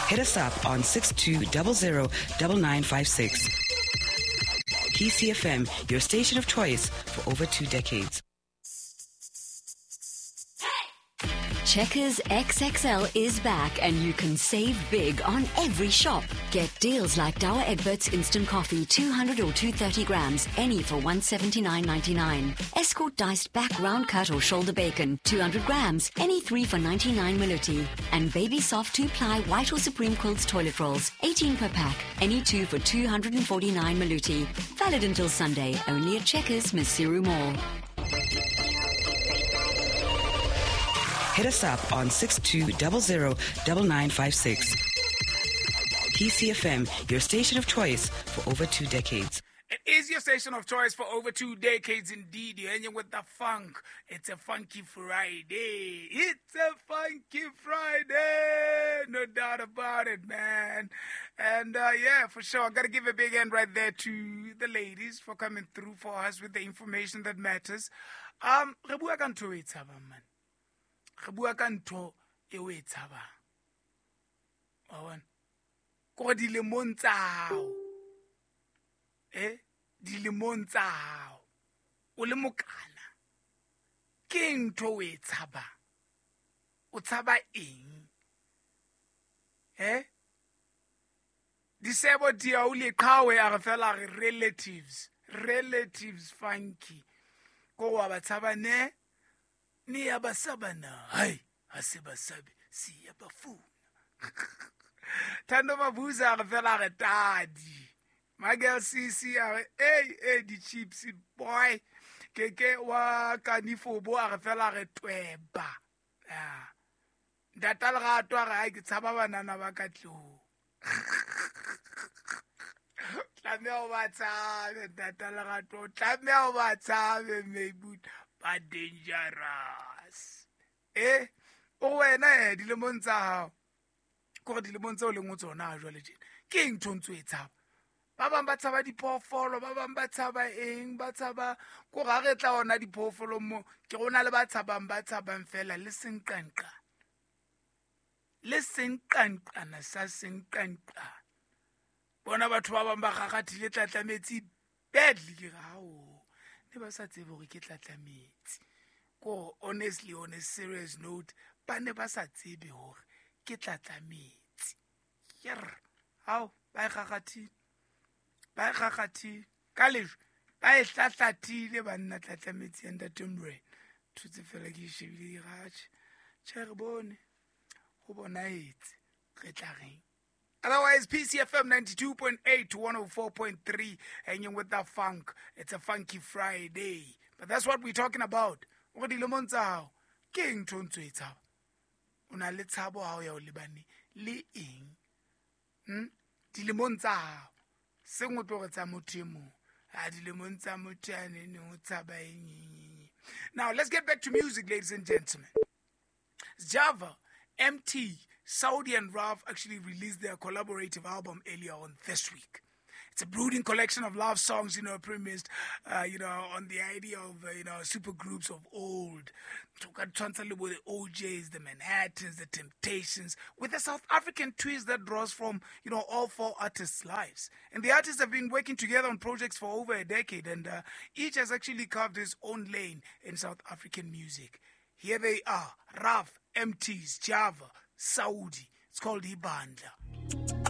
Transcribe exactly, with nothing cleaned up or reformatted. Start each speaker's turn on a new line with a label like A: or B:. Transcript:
A: Hit us up on six two zero zero nine nine five six. P C F M, your station of choice for over two decades.
B: Checkers X X L is back and you can save big on every shop. Get deals like Douwe Egberts Instant Coffee, two hundred or two thirty grams, any for one seventy-nine ninety-nine. Escort diced back round cut or shoulder bacon, two hundred grams, any three for ninety-nine Maluti. And Baby Soft two-ply white or Supreme Quilts toilet rolls, eighteen per pack, any two for two hundred forty-nine Maluti. Valid until Sunday, only at Checkers, Maseru Mall.
A: Hit us up on six two zero zero nine nine five six. P C F M, your station of choice for over two decades.
C: It is your station of choice for over two decades indeed. You're hanging with the funk. It's a funky Friday. It's a funky Friday. No doubt about it, man. And, uh, yeah, for sure. I gotta give a big hand right there to the ladies for coming through for us with the information that matters. Um, re bua ka ntho e tshabang, man. Re bua ka ntho e o e tshabang. Wa bona? Ko re dilemong tsa hao. Eh? Dilemong tsa hao. O le mokana. Ke eng ntho o e tshabang? O tshaba eng? Eh? Disebo dia o le qhawe a re fela re relatives. Relatives funky. Ko wa ba tshaba ne? Ni ya ba saba na. Hai, ha se ba sabe, si ya ba funa. Thando Mabuza a re fela re tadi. My girl Sisi a re, hey, hey, di chips boy. Keke wa kanifobo a re fela re tweba. Ah. Ntate Lerato a re, hai, ke tshaba banana ba ka tlung. Tlameha o ba tshabe, Ntate Lerato. Tlameha o ba tshabe, Mebut. Ba dangerous. Eh? O wena eh dilemong tsa hao. Ko re dilemong tseo leng ho tsona ha jwale tjena. Ke eng ntho ntso e tshaba? Ba bang ba tshaba diphoofolo, ba bang ba tshaba eng, ba tshaba ko ga re tla ona diphoofolo mo, ke rona le ba tshabang, ba tshabang fela le senqanqa. Le senqanqana sa senqanqa. Bona batho ba bang ba gagathile tlatlametsi badly ke ra o. Ne ba sa tsebe hore ke tlatlametsi. Ko honestly, on a serious note, ba ne ba sa tsebe hore ke tlatlametsi. Yer, hao, ba e gagathile. Ba e gagathile. Ka lejwe, ba e hlahlathile banna tlatlametsi ya Ntate Morena. Thutse fela ke e shebile ke re, atjhe, tjhe re bone. Ho bonahetse, re tla reng. Otherwise, P C F M ninety-two point eight to one oh four point three, hanging with the funk. It's a funky Friday. But that's what we're talking about. O dilemong tsa hao, ke eng ntho ntso e tshaba? O na le tshabo ha o ya o lebane le eng? Hmm? Dilemong tsa hao. Seng o tlo re tsa motho e mong. Ha dilemong tsa motho ya neng o tshaba eng. Now, let's get back to music, ladies and gentlemen. Java, M T, Saudi and Ralph actually released their collaborative album earlier on this week. It's a brooding collection of love songs, you know, premised, uh, you know, on the idea of, uh, you know, super groups of old. The O Js, the Manhattans, the Temptations, with a South African twist that draws from, you know, all four artists' lives. And the artists have been working together on projects for over a decade, and uh, each has actually carved his own lane in South African music. Here they are, Ralph, M Ts, Java, Saudi. It's called Ibandla.